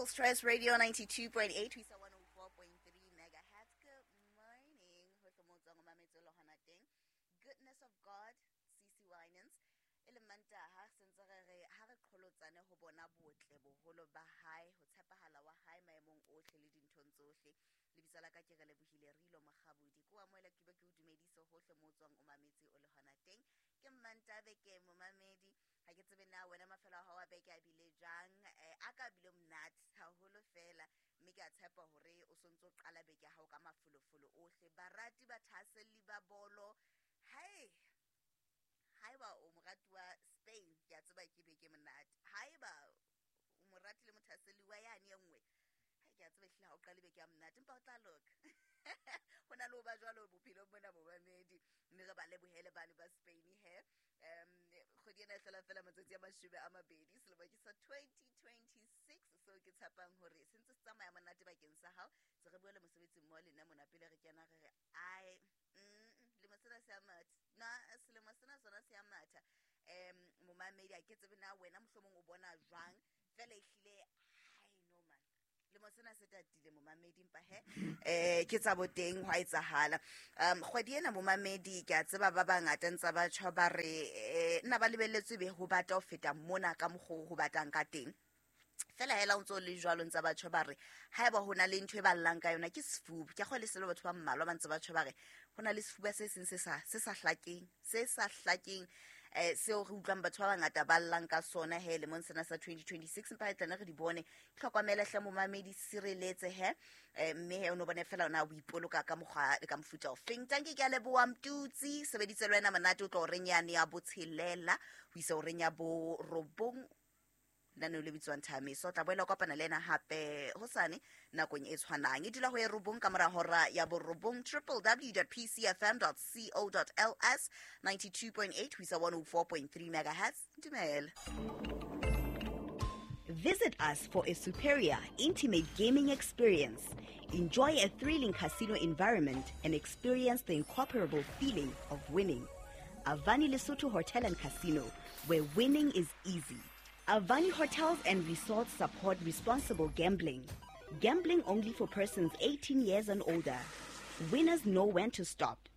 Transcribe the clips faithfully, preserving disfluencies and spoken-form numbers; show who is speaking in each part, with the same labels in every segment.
Speaker 1: People's Choice Radio ninety-two point eight, ho isa one oh four point three megahertz. Good morning. Hohle mo tswang o mametse le hona teng. Goodness of God, C C Winans. E le Mantaha, sentse re re ha re qholotsane ho bona botle boholo ba hae, ho tshepahala wa hae maemong ohle le dinthong tsohle. Lebitso la ka ke re lebohile Rilo Mokgabudi. Ke wa moela ke be ke o dumedise hohle mo tswang o mametse o le hona teng. Ke Mantaha beke momamedi. Ha ke tsebe na wena mafelo a hao a beke a bile jang, eh, a ka bile monate haholo fela, mme ke a tshepa hore o sontso o qala beke ya hao ka mafolofolo ohle. Barati ba thahaselli ba bolo, hai, haeba o morati wa Spain, ke a tseba ke beke monate. Haeba o morati le mothahaselli wa yane e nngwe, hai, ke a tseba ehlile ha o qale beke ya monate, empa o tla loka. Ho na le ho ba jwalo bophelong mona momamedi, mme re ba lebohele bane ba Spain he. Um, kgwedi ena e hlola fela matsatsi a mashome a mabedi, selemo ke sa twenty twenty-six, seo ke tshepang hore se ntse se tsamaya monate bakeng sa hao. Se re boele mosebetsing mmoho le nna mona pele re kena re re, ai, mm, lemo sena se a matha. Na, selemo sena sona se a matha. Um, momamedi, ha ke tsebe na wena mohlomong o bona jwang, fela ehlile, hai, no man. Lemo sena se tatile momamedi, empa he, eh, ke tsa boteng hwa etsahala. Um, kgwedi ena momamedi, ke a tseba ba bangata ntse ba tjho ba re, eh, nna ba lebelletswe be ho bata ho feta mona ka mokgwa ho batang ka teng. Fela hela o ntso le jwalo ntse ba tjho ba re, haeba ho na le ntho e ba llang ka yona ke sefuba. Ke a kgolwa le selo batho ba mmalwa ba ntse ba tjho ba re, ho na le sefuba se seng se sa, se sa hlakeng, se sa hlakeng, eh, seo re utlwang batho ba bangata ba llang ka sona he lemong sena sa twenty twenty-six. Empa e tlane re di bone. Tlhokomele hle momamedi, sireletse he, eh, mme he o no bone fela ona o ipoloka ka mokgwa le ka mofuta o feng. Tanki, ke a leboha Mtutsi, sebeditse le wena monate o tlo reng yane ya botshelela ho isa horeng ya borobong. Lenaneo le bitswang Thameso. O tla boela o kopana le ena hape hosane nakong e tshwanang. E dula ho e robong ka mora hora ya borobong, triple w dot p c f m dot c o dot l s, ninety-two point eight ho isa one oh four point three megahertz. Dumela.
Speaker 2: Visit us for a superior, intimate gaming experience. Enjoy a thrilling casino environment and experience the incomparable feeling of winning. Avani Lesotho Hotel and Casino, where winning is easy. Avani Hotels and Resorts support responsible gambling. Gambling only for persons eighteen years and older. Winners know when to stop.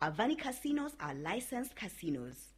Speaker 2: Avani Casinos are licensed casinos.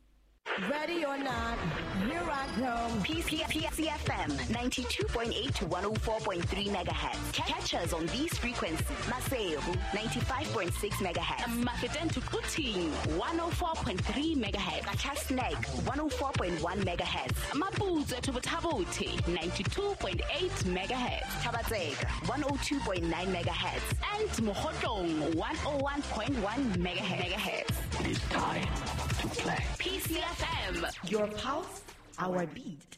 Speaker 3: Ready or not, here I come.
Speaker 2: P C F M ninety-two point eight to one oh four point three megahertz. Catch us on these frequencies. Maseru ninety-five point six megahertz.
Speaker 4: Mafeteng to Quthing one oh four point three megahertz.
Speaker 2: Qacha's Nek one oh four point one megahertz.
Speaker 4: Maputsoe to Botha-Bothe ninety-two point eight megahertz.
Speaker 2: Thaba-Tseka one oh two point nine megahertz.
Speaker 4: And Mokhotlong one oh one point one megahertz.
Speaker 5: It is time to play.
Speaker 4: P C F M.
Speaker 2: Your pulse, our beat.